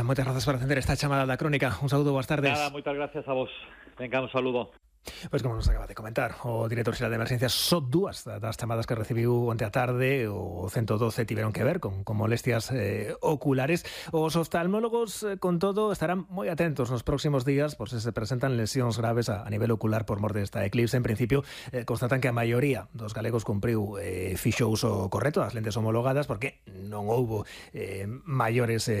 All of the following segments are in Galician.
Moitas grazas por atender esta chamada da Crónica. Un saúdo, boas tardes. Nada, moitas gracias a vos. Venga, un saludo. Pois como nos acaba de comentar o director xeral de emergencias, son dúas das chamadas que recibiu onte a tarde. O 112 tiveron que ver con molestias oculares. Os oftalmólogos, con todo, estarán moi atentos nos próximos días por se presentan lesións graves a nivel ocular por mor desta eclipse. En principio, constatan que a maioría dos galegos cumpriu fixo uso correcto das lentes homologadas, porque non houbo maiores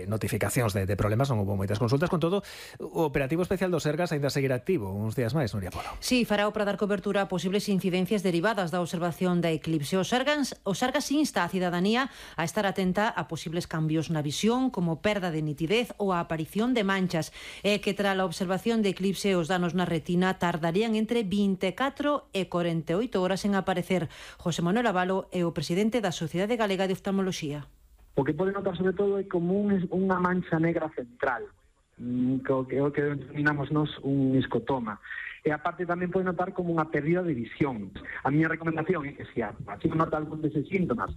notificacións de problemas, non houbo moitas consultas. Con todo, o operativo especial do Sergas ainda seguirá activo uns días máis, Nuria Polo. Sí, farao para dar cobertura a posibles incidencias derivadas da observación da eclipse. O Sergas insta a cidadanía a estar atenta a posibles cambios na visión, como perda de nitidez ou a aparición de manchas, e que tras a observación de eclipse os danos na retina tardarían entre 24 e 48 horas en aparecer. José Manuel Abalo é o presidente da Sociedade Galega de Oftalmoloxía. O que pode notar sobre todo é como unha mancha negra central, que denominamos nos un escotoma. E aparte tamén pode notar como unha pérdida de visión. A miña recomendación é que se así nota algún deses síntomas,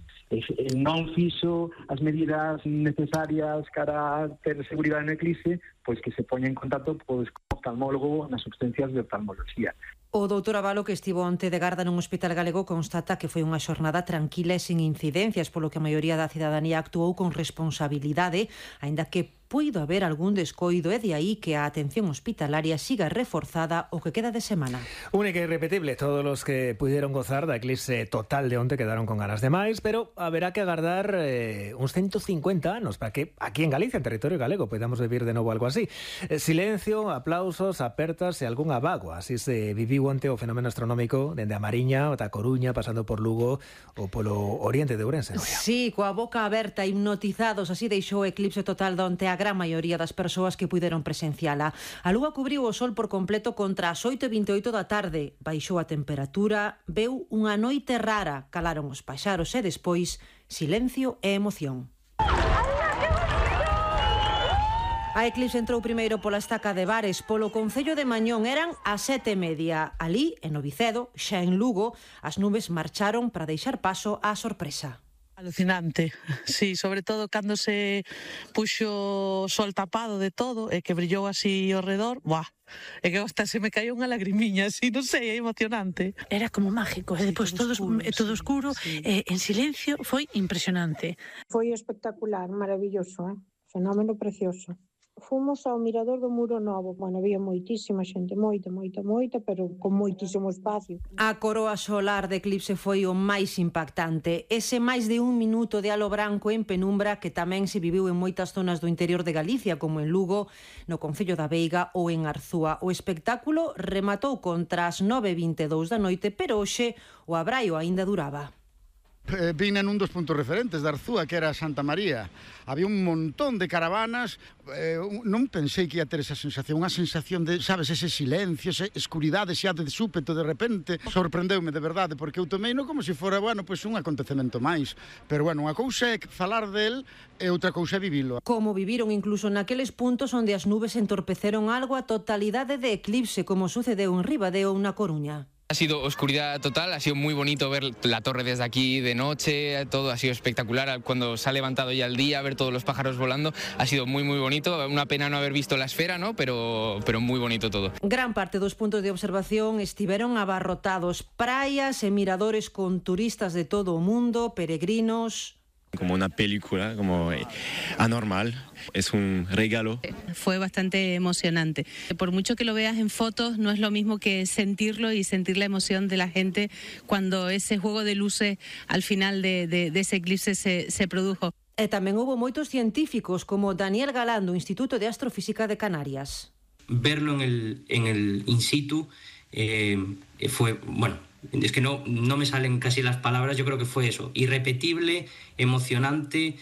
non fixo as medidas necesarias para ter seguridade no eclipse, pois que se poña en contacto co oftalmólogo nas substancias de oftalmoloxía. O doutor Abalo, que estivo onte de garda nun hospital galego, constata que foi unha xornada tranquila e sin incidencias, polo que a maioría da cidadanía actuou con responsabilidade, aínda que puido haber algún descoido, e de aí que a atención hospitalaria siga reforzada o que queda de semana. Única e irrepetible, todos os que pudieron gozar da eclipse total de onte quedaron con ganas de máis, pero haberá que agardar uns 150 anos para que aquí en Galicia, en territorio galego, podamos vivir de novo algo así. Silencio, aplausos, apertas e algún abago. Así se viviu onte o fenómeno astronómico dende a Mariña, ata Coruña, pasando por Lugo ou polo oriente de Ourense. Sí, coa boca aberta, hipnotizados, así deixou o eclipse total de onte a gran maioría das persoas que puideron presenciala. A lúa cubriu o sol por completo contra as 8:28 da tarde. Baixou a temperatura, veu unha noite rara, calaron os paxaros e despois silencio e emoción. A eclipse entrou primeiro pola estaca de Bares, polo concello de Mañón. Eran as 7:30. Ali, en Novicedo, xa en Lugo, as nubes marcharon para deixar paso á sorpresa. Alucinante, sí, sobre todo cando se puxo o sol tapado de todo e que brillou así ao redor, buah, é que hasta se me caiu unha lagrimiña, así, non sei, é emocionante. Era como mágico, e depois todo oscuro, sí. En silencio, foi impresionante. Foi espectacular, maravilloso, fenómeno precioso. Fomos ao mirador do Muro Novo. Bueno, había moitísima xente, moita, pero con moitísimo espacio. A coroa solar de eclipse foi o máis impactante. Ese máis de un minuto de halo branco en penumbra que tamén se viviu en moitas zonas do interior de Galicia, como en Lugo, no concello da Veiga ou en Arzúa. O espectáculo rematou contra as 9:22 da noite, pero hoxe o abraio aínda duraba. Vine nun dos puntos referentes de Arzúa, que era Santa María. Había un montón de caravanas. Non pensei que ia ter esa sensación, unha sensación de, sabes, ese silencio, esa escuridade xa de súpeto, de repente. Sorprendeume de verdade, porque eu tomeino como se fora, bueno, pois un acontecemento máis. Pero, bueno, unha cousa é falar del e outra cousa é vivilo. Como viviron incluso naqueles puntos onde as nubes entorpeceron algo a totalidade de eclipse, como sucedeu en Ribadeo ou na Coruña. Ha sido oscuridad total, ha sido muy bonito ver la torre desde aquí de noche, todo ha sido espectacular. Cuando se ha levantado ya el día, ver todos los pájaros volando, ha sido muy bonito. Una pena no haber visto la esfera, ¿no? Pero muy bonito todo. Gran parte dos puntos de observación estiveron abarrotados. Praias e miradores con turistas de todo o mundo, peregrinos. Como una película, como anormal, es un regalo. Fue bastante emocionante. Por mucho que lo veas en fotos, no es lo mismo que sentirlo y sentir la emoción de la gente cuando ese juego de luces al final de ese eclipse se produjo. E tamén houve moitos científicos como Daniel Galán do Instituto de Astrofísica de Canarias. Verlo en el in situ fue, bueno, es que no me salen casi las palabras. Yo creo que fue eso, irrepetible, emocionante,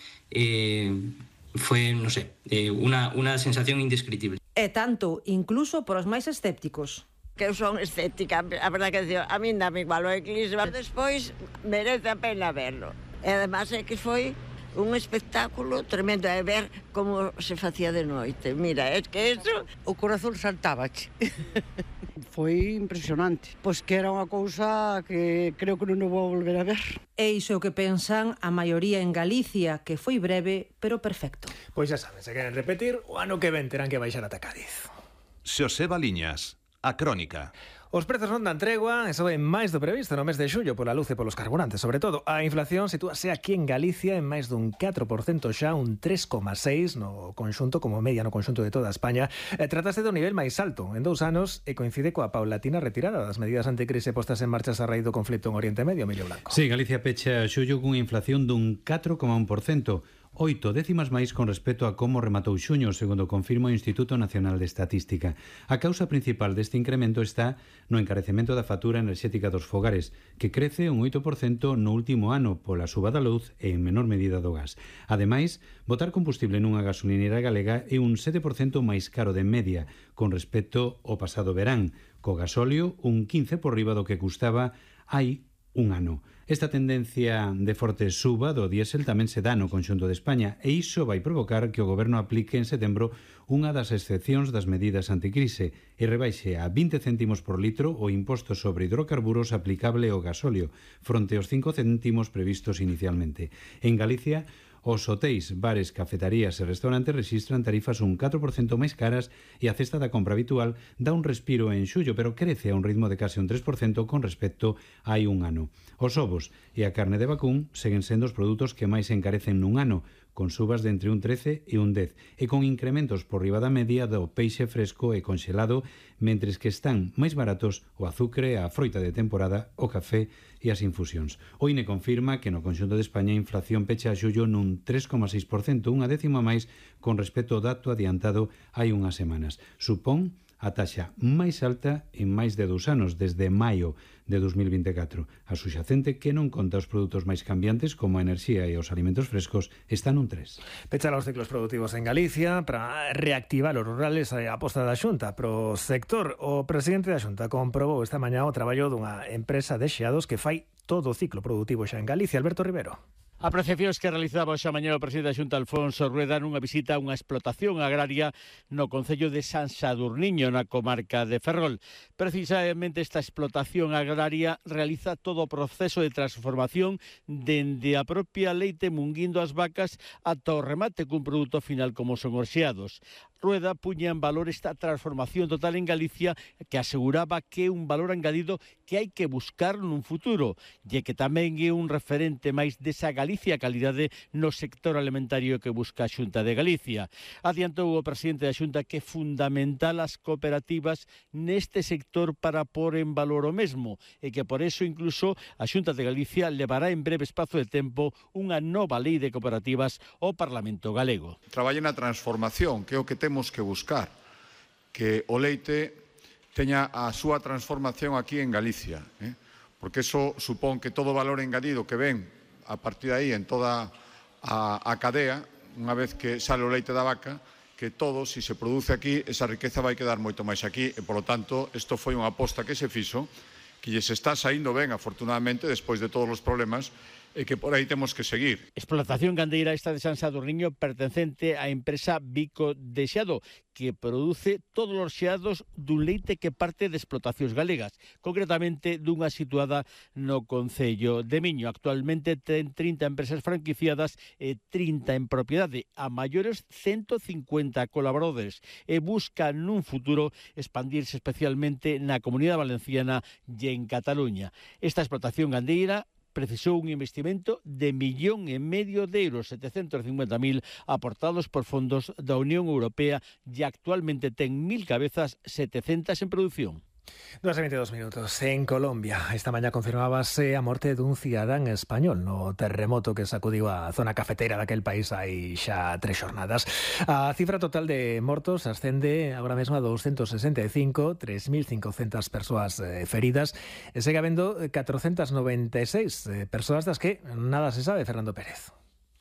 fue, no sé, una sensación indescriptible. E tanto, incluso por os máis escépticos. Que eu son escéptica, a verdade que a min dame igual o eclipse, despois merece a pena verlo. E además é que foi un espectáculo tremendo, é ver como se facía de noite. Mira, é que eso... O corazón saltábache. foi impresionante. Pois que era unha cousa que creo que non vou volver a ver. E iso é o que pensan a maioría en Galicia, que foi breve, pero perfecto. Pois xa saben, se queren repetir, o ano que ven terán que baixar ata Cádiz. Xoseba Liñas, A Crónica. Os prezos non dan tregua, e soben máis do previsto no mes de xullo pola luz e polos carburantes. Sobre todo, a inflación sitúase aquí en Galicia en máis dun 4% xa, un 3,6% no conxunto, como media no conxunto de toda España. Trátase do nivel máis alto en 2 anos e coincide coa paulatina retirada das medidas anticrise postas en marcha a raíz do conflito en Oriente Medio, Emilio Blanco. Sí, Galicia pecha xullo cunha inflación dun 4,1%. 8 décimas máis con respecto a como rematou xuño, segundo confirma o Instituto Nacional de Estatística. A causa principal deste incremento está no encarecemento da factura enerxética dos fogares, que crece un 8% no último ano pola suba da luz e en menor medida do gas. Ademais, botar combustible nunha gasolinera galega é un 7% máis caro de media con respecto ao pasado verán, co gasóleo un 15% por riba do que custaba hai un ano. Esta tendencia de forte suba do diésel tamén se dá no conxunto de España e iso vai provocar que o goberno aplique en setembro unha das excepcións das medidas anticrise e rebaixe a 20 céntimos por litro o imposto sobre hidrocarburos aplicable ao gasóleo, fronte aos 5 céntimos previstos inicialmente. En Galicia, os hotéis, bares, cafetarías e restaurantes rexistran tarifas un 4% máis caras e a cesta da compra habitual dá un respiro en xullo, pero crece a un ritmo de case un 3% con respecto a hai un ano. Os ovos e a carne de vacún seguen sendo os produtos que máis se encarecen nun ano, con subas de entre un 13 e un 10, e con incrementos por riba da media do peixe fresco e conxelado, mentres que están máis baratos o azucre, a froita de temporada, o café e as infusións. O INE confirma que no conxunto de España a inflación pecha a xullo nun 3,6%, unha décima máis con respecto ao dato adiantado hai unhas semanas. Supón a taxa máis alta en máis de 2 anos, desde maio de 2024. A suxacente, que non conta os produtos máis cambiantes como a enerxía e os alimentos frescos, está nun 3. Pechan os ciclos productivos en Galicia para reactivar os rurales a aposta da Xunta pro sector. O presidente da Xunta comprobou esta mañá o traballo dunha empresa de xeados que fai todo o ciclo productivo xa en Galicia. Alberto Rivero. Apreciacións que realizaba xa mañá o presidente da Xunta Alfonso Rueda nunha visita a unha explotación agraria no concello de San Sadurniño, na comarca de Ferrol. Precisamente esta explotación agraria realiza todo o proceso de transformación dende a propia leite munguindo as vacas ata o remate cun produto final como son os xeados. Rueda puña en valor esta transformación total en Galicia que aseguraba que é un valor engadido que hai que buscar nun futuro e que tamén é un referente máis desa Galicia calidade no sector alimentario que busca a Xunta de Galicia. Adiantou o presidente da Xunta que é fundamental as cooperativas neste sector para pôr en valor o mesmo e que por eso incluso a Xunta de Galicia levará en breve espazo de tempo unha nova lei de cooperativas ao Parlamento galego. Traballe na transformación, que é o que temos que buscar, que o leite teña a súa transformación aquí en Galicia, porque eso supón que todo o valor engadido que ven a partir de aí en toda a cadea, unha vez que sale o leite da vaca, que todo, se se produce aquí, esa riqueza vai quedar moito máis aquí e, polo tanto, isto foi unha aposta que se fixo, que lles está saindo ben, afortunadamente, despois de todos os problemas, e que por aí temos que seguir. Explotación gandeira esta de San Sadurniño pertencente á empresa Bico de Xeado, que produce todos os xeados dun leite que parte de explotacións galegas, concretamente dunha situada no concello de Miño. Actualmente ten 30 empresas franquiciadas e 30 en propiedade, a maiores 150 colaboradores, e busca nun futuro expandirse especialmente na Comunidade Valenciana e en Cataluña. Esta explotación gandeira precisou un investimento de 1,5 millón de euros, 750.000 aportados por fondos da Unión Europea e actualmente ten 1.000 cabezas, 700 en produción. 2:22 minutos. En Colombia, esta mañá confirmábase a morte dun cidadán español no terremoto que sacudiu a zona cafetera daquel país hai xa 3 xornadas. A cifra total de mortos ascende agora mesmo a 265, 3.500 persoas feridas e segue habendo 496 persoas das que nada se sabe, Fernando Pérez.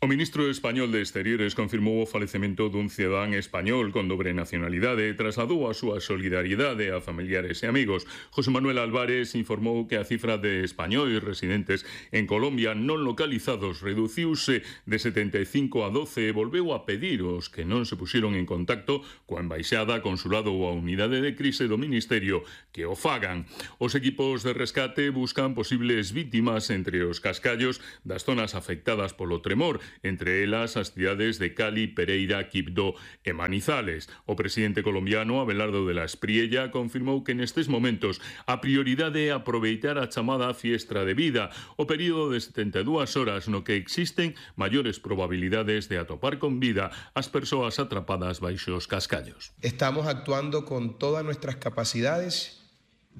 O ministro español de Exteriores confirmou o falecemento dun cidadán español con dobre nacionalidade e trasladou a súa solidariedade a familiares e amigos. José Manuel Álvarez informou que a cifra de españois residentes en Colombia non localizados reduciuse de 75 a 12 e volveu a pedir aos que non se puxeron en contacto coa embaixada, consulado ou a unidade de crise do Ministerio que o fagan. Os equipos de rescate buscan posibles vítimas entre os cascallos das zonas afectadas polo tremor, entre elas as cidades de Cali, Pereira, Quibdó e Manizales. O presidente colombiano Abelardo de la Espriella confirmou que nestes momentos a prioridade é aproveitar a chamada fiestra de vida, o período de 72 horas no que existen maiores probabilidades de atopar con vida as persoas atrapadas baixo os cascallos. Estamos actuando con todas nuestras capacidades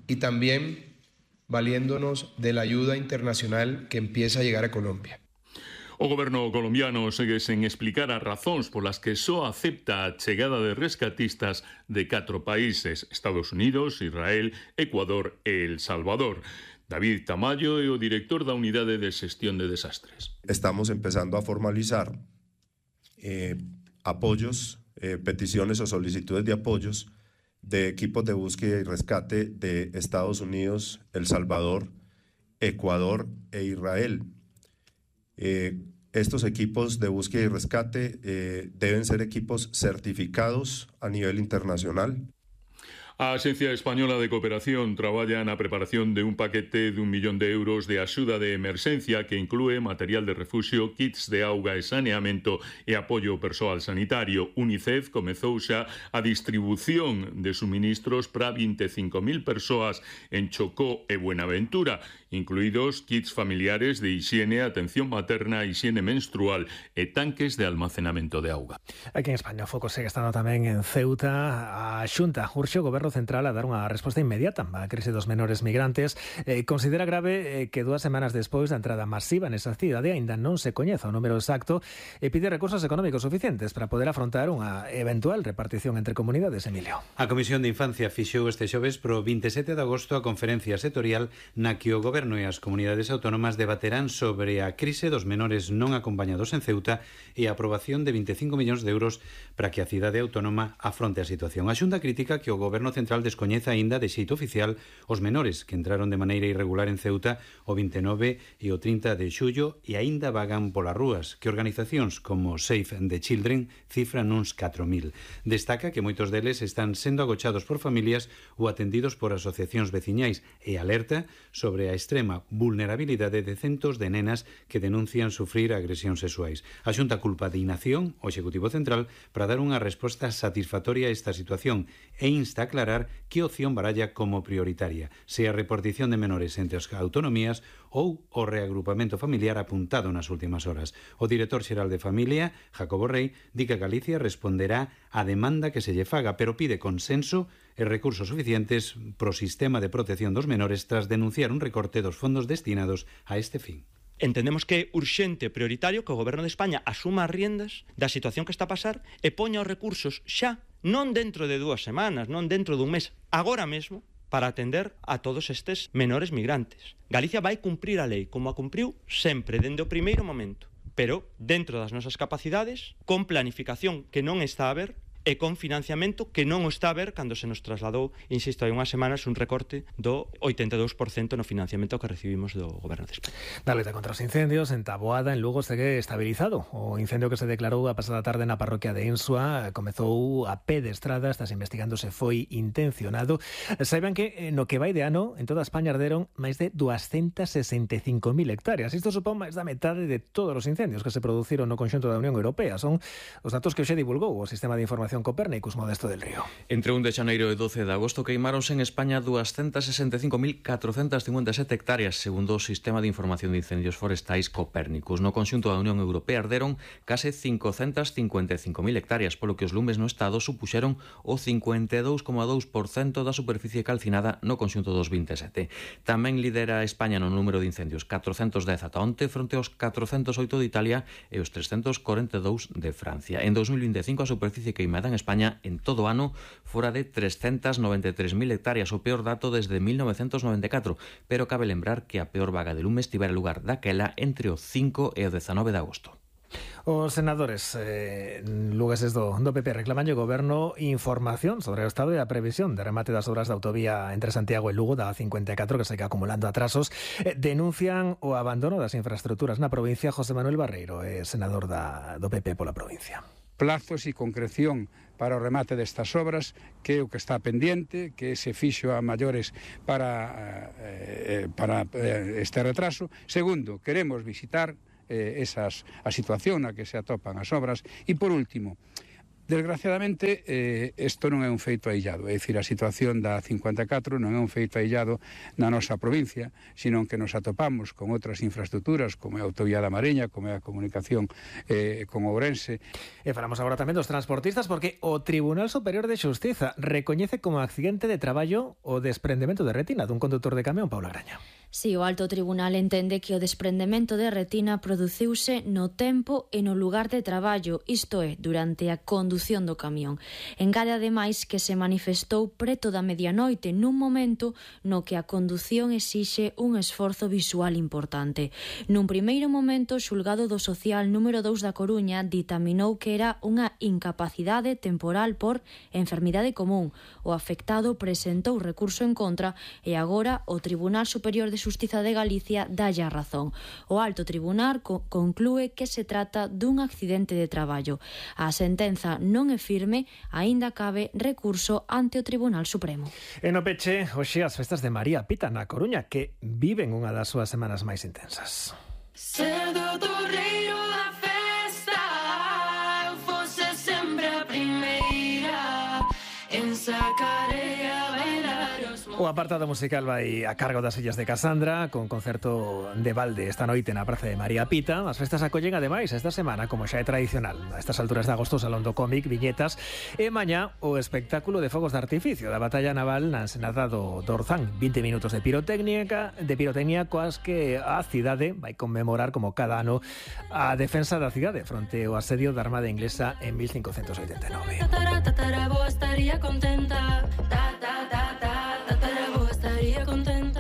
y también valiéndonos de la ayuda internacional que empieza a llegar a Colombia. O goberno colombiano segue sen explicar as razóns polas que só acepta a chegada de rescatistas de 4 países: Estados Unidos, Israel, Ecuador e El Salvador. David Tamayo é o director da Unidade de Xestión de Desastres. Estamos empezando a formalizar apoyos, peticiones o solicitudes de apoyos de equipos de búsqueda y rescate de Estados Unidos, El Salvador, Ecuador e Israel. Estos equipos de búsqueda y rescate deben ser equipos certificados a nivel internacional. A Axencia Española de Cooperación traballa na preparación de un paquete de 1 millón de euros de axuda de emerxencia que inclúe material de refuxio, kits de auga e saneamento e apoio ao persoal sanitario. UNICEF comezou xa a distribución de suministros para 25.000 persoas en Chocó e Buenaventura, incluídos kits familiares de hixiene, atención materna, hixiene menstrual e tanques de almacenamento de auga. Aquí en España o foco segue estando tamén en Ceuta. A Xunta urxe o Goberno Central a dar unha resposta inmediata á crise dos menores migrantes. Considera grave que 2 semanas despois da entrada masiva nesa cidade aínda non se coñeza o número exacto e pide recursos económicos suficientes para poder afrontar unha eventual repartición entre comunidades. Emilio. A Comisión de Infancia fixou este xoves pro 27 de agosto a conferencia sectorial na que o Goberno e as comunidades autónomas debaterán sobre a crise dos menores non acompañados en Ceuta e a aprobación de 25 millóns de euros para que a cidade autónoma afronte a situación. A Xunta critica que o Goberno Central descoñeza aínda de xeito oficial os menores que entraron de maneira irregular en Ceuta o 29 e o 30 de xullo e aínda vagan polas rúas, que organizacións como Save the Children cifran uns 4.000. Destaca que moitos deles están sendo agochados por familias ou atendidos por asociacións veciñais e alerta sobre a extrema vulnerabilidade de centos de nenas que denuncian sufrir agresións sexuais. A Xunta culpa de inacción o Executivo Central para dar unha resposta satisfactoria a esta situación e insta a aclarar que opción baralla como prioritaria, se a repartición de menores entre as autonomías ou o reagrupamento familiar apuntado nas últimas horas. O director xeral de Familia, Jacobo Rey, di que Galicia responderá á demanda que se lle faga, pero pide consenso e recursos suficientes pro sistema de protección dos menores tras denunciar un recorte dos fondos destinados a este fin. Entendemos que é urxente e prioritario que o Goberno de España asuma as riendas da situación que está a pasar e poña os recursos xa, non dentro de 2 semanas, non dentro dun mes, agora mesmo, para atender a todos estes menores migrantes. Galicia vai cumprir a lei, como a cumpriu sempre, dende o primeiro momento, pero dentro das nosas capacidades, con planificación que non está a ver, e con financiamento que non o está a ver cando se nos trasladou, insisto, hai unhas semanas un recorte do 82% no financiamento que recibimos do Goberno de España. Da loita contra os incendios en Taboada, en Lugo, segue estabilizado. O incendio que se declarou a pasada tarde na parroquia de Insua comezou a pé de estrada, estás investigando se foi intencionado. Saiban que no que vai de ano, en toda España arderon máis de 265.000 hectáreas. Isto supón máis da metade de todos os incendios que se produciron no conxunto da Unión Europea. Son os datos que hoxe divulgou o Sistema de Información Copérnicus, Modesto del Río. Entre 1 de xaneiro e 12 de agosto queimáronse en España 265.457 hectáreas, segundo o Sistema de Información de Incendios Forestais Copérnicus. No conxunto da Unión Europea arderon case 555.000 hectáreas, polo que os lumes no Estado supuxeron o 52,2% da superficie calcinada no conxunto dos 27. Tamén lidera España no número de incendios, 410 ata onte, fronte aos 408 de Italia e os 342 de Francia. En 2025 a superficie queimada en España en todo o ano fora de 393.000 hectáreas, o peor dato desde 1994, pero cabe lembrar que a peor vaga de lume estivera lugar daquela entre o 5 e o 19 de agosto. Os senadores lugueses do PP reclaman ao Goberno información sobre o estado e a previsión de remate das obras da autovía entre Santiago e Lugo da A54 que segue acumulando atrasos. Denuncian o abandono das infraestructuras na provincia. José Manuel Barreiro, senador do PP pola provincia. Plazos e concreción para o remate destas obras, que é o que está pendiente, que se fixo a maiores para este retraso. Segundo, queremos visitar a situación na que se atopan as obras. E por último, desgraciadamente, isto non é un feito aillado, é dicir, a situación da 54 non é un feito aillado na nosa provincia, sino que nos atopamos con outras infraestructuras, como é a autovía da Mariña, como é a comunicación con Ourense. E falamos agora tamén dos transportistas, porque o Tribunal Superior de Xustiza recoñece como accidente de traballo o desprendemento de retina dun condutor de camión, Paula Graña. Si, o alto tribunal entende que o desprendemento de retina produciuse no tempo e no lugar de traballo, isto é, durante a condución do camión. Engade ademais que se manifestou preto da medianoite nun momento no que a condución exixe un esforzo visual importante. Nun primeiro momento, o xulgado do social número 2 da Coruña ditaminou que era unha incapacidade temporal por enfermidade común. O afectado presentou recurso en contra e agora o Tribunal Superior de Xustiza de Galicia dálle a razón. O alto tribunal conclúe que se trata dun accidente de traballo. A sentenza non é firme, aínda cabe recurso ante o Tribunal Supremo. E no peche, hoxe as festas de María Pita na Coruña, que viven unha das súas semanas máis intensas. Ser do torreiro da festa, eu fose sempre a primeira en sacar e a bailar os... O apartado musical vai a cargo das Illas de Casandra, con concerto de balde esta noite na Praza de María Pita. As festas acollen ademais esta semana, como xa é tradicional, a estas alturas de agosto, o Salón do Cómic, viñetas, e mañá o espectáculo de fogos de artificio da batalla naval na ensenada do Orzán. 20 minutos de pirotecnia coas que a cidade vai conmemorar como cada ano a defensa da cidade fronte ao asedio da Armada Inglesa en 1589. Estaría contenta,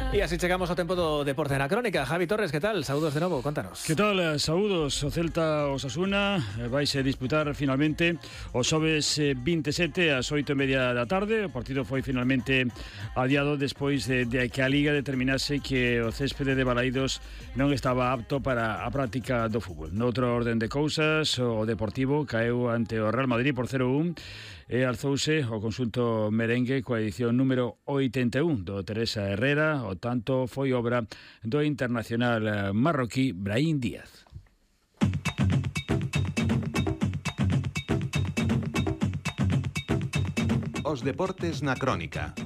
E así chegamos ao tempo do deporte na crónica. Javi Torres, que tal? Saúdos de novo, contanos. Que tal? Saúdos. O Celta Osasuna vaise disputar finalmente o xoves 27 ás 8:30 da tarde. O partido foi finalmente adiado despois de que a Liga determinase que o céspede de Balaídos non estaba apto para a práctica do fútbol. Noutro orden de cousas, o Deportivo caeu ante o Real Madrid por 0-1 e alzouse o consulto merengue coa edición número 81 do Teresa Herrera. O tanto foi obra do internacional marroquí Brahim Díaz. Os deportes na crónica.